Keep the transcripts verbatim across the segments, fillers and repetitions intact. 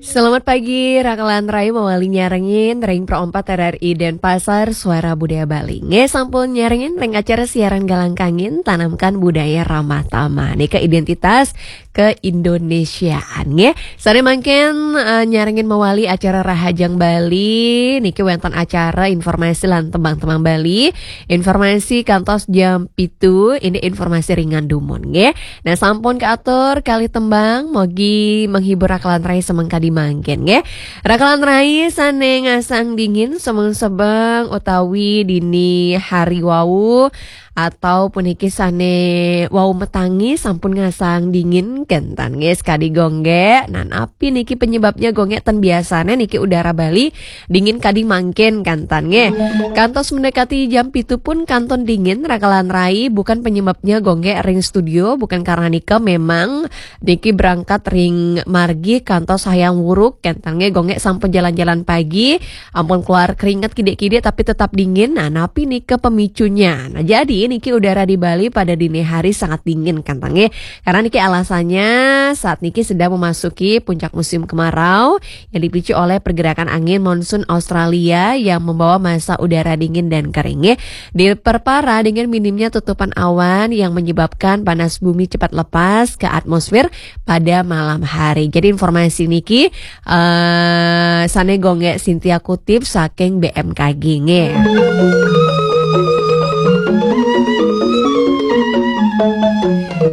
Selamat pagi, Rakalan Rai mawali nyarengin ring Pro empat R R I Denpasar, Suara Budaya Bali. Nggih, sampun nyarengin ring acara siaran Galang Kangin, Tanamkan Budaya Ramah Tamah. Nika identitas keindonesiaan, nggih. Sore mangkin, eh, nyarengin mawali acara Rahajeng Bali. Niki wénten acara informasi lan tembang-tembang Bali. Informasi kantos jam pitu, ini informasi ringan dumun, nggih. Nah, sampun kaatur kalih tembang, mogi menghibur Rakalan Rai semeng kadi mangkin, nggih. Rakalan Rai sané ngasang dingin semeng-semeng utawi dini hari wau, atau puniki sané wau metangi sampun ngasang dingin kénten, nggih, sekadi gonggé. Nah, napi niki penyebabnya gonggé ten biasané niki udara Bali dingin kadi mangkin kénten, nggih. Kantos mendekati jam pitu pun kantun dingin, Rakalan Rai, bukan penyebabnya gonggé ring studio, bukan karena nika, memang niki berangkat ring margi kantos Hayam Wuruk, kénten nggih, gonggé sampun jalan-jalan pagi, ampun keluar keringat kidik-kidik tapi tetap dingin. Nah, napi nika pemicunya? Nah, jadi niki udara di Bali pada dini hari sangat dingin, kénten nggih. Karena niki alasannya saat niki sedang memasuki puncak musim kemarau yang dipicu oleh pergerakan angin monsun Australia yang membawa massa udara dingin dan kering, nggih. Diperparah dengan minimnya tutupan awan yang menyebabkan panas bumi cepat lepas ke atmosfer pada malam hari. Jadi informasi niki, eh, sané gonggé Cynthia kutip saking B M K G, nggih.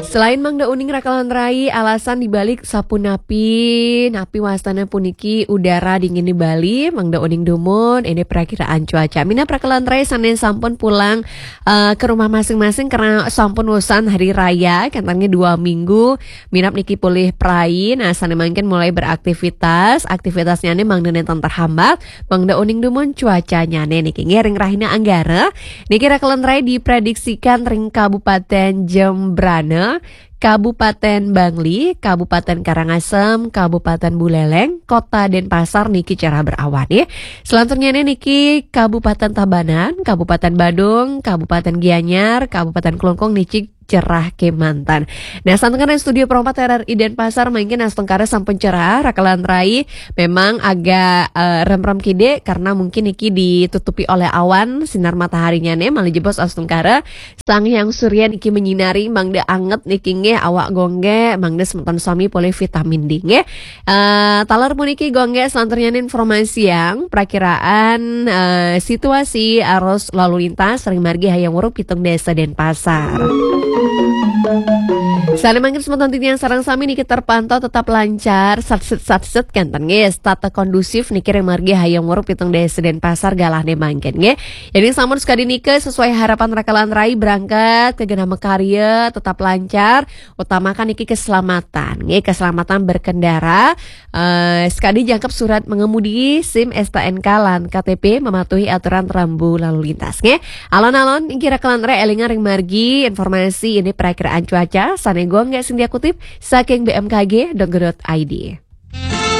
Selain mangda uning Rakalan Rai, alasan dibalik sapunapi, napi wastana puniki udara dingin di Bali, mangda uning dumun, ini perakiraan cuaca. Minab Rakalan Rai sané sampun pulang, eh, ke rumah masing-masing karena sampun usan hari raya, kénten nggih dua minggu, minab niki polih prai, nah, sané mangkin mulai beraktivitas, aktivitasnya nih mangda nénten terhambat, mangda uning dumun cuacanya nih niki. Nggih, ring rahina Anggara, niki Rakalan Rai diprediksikan ring Kabupaten Jembrana, Kabupaten Bangli, Kabupaten Karangasem, Kabupaten Buleleng, Kota Denpasar niki cerah berawan, ya. Selanjutnya nih niki Kabupaten Tabanan, Kabupaten Badung, Kabupaten Gianyar, Kabupaten Klungkung niki cerah kémanten. Nah, santukan ring studio Pro empat R R I Denpasar, mangkin astungkara sampun cerah, Rakalan Rai memang agak, eh, remrem kidik karena mungkin niki ditutupi oleh awan, sinar mataharinya nih, malih jebos astungkara Sang Hyang Surya niki menyinari, mangda anget niki nggih awak gonggé, mangda semeton sami polih vitamin D nggih. Eh, taler puniki gonggé selanturnya informasi yang perakiraan, eh, situasi arus lalu lintas ring margi Hayam Wuruk pitung dasa Denpasar. Sané mangkin semeton titiang sareng sami niki terpantau tetap lancar, satset-satset kénten nggih, tata kondusif niki ring margi Hayam Wuruk pitung dasa Denpasar galahné mangkin nggih. Jadi sampun sekadi nika sesuai harapan Rakalan Rai berangkat ke genah makarya tetap lancar, utamakan niki keselamatan, nggih, keselamatan berkendara. Eh, sekadi jangkep surat mengemudi, SIM, STNK, lan KTP, mematuhi aturan rambu lalu lintas, nggih. Alon-alon, nggih, Rakalan Rai élingang ring margi, informasi ini perakiraan cuaca, sané gonggé Cynthia kutip saking B M K G dot go dot I D.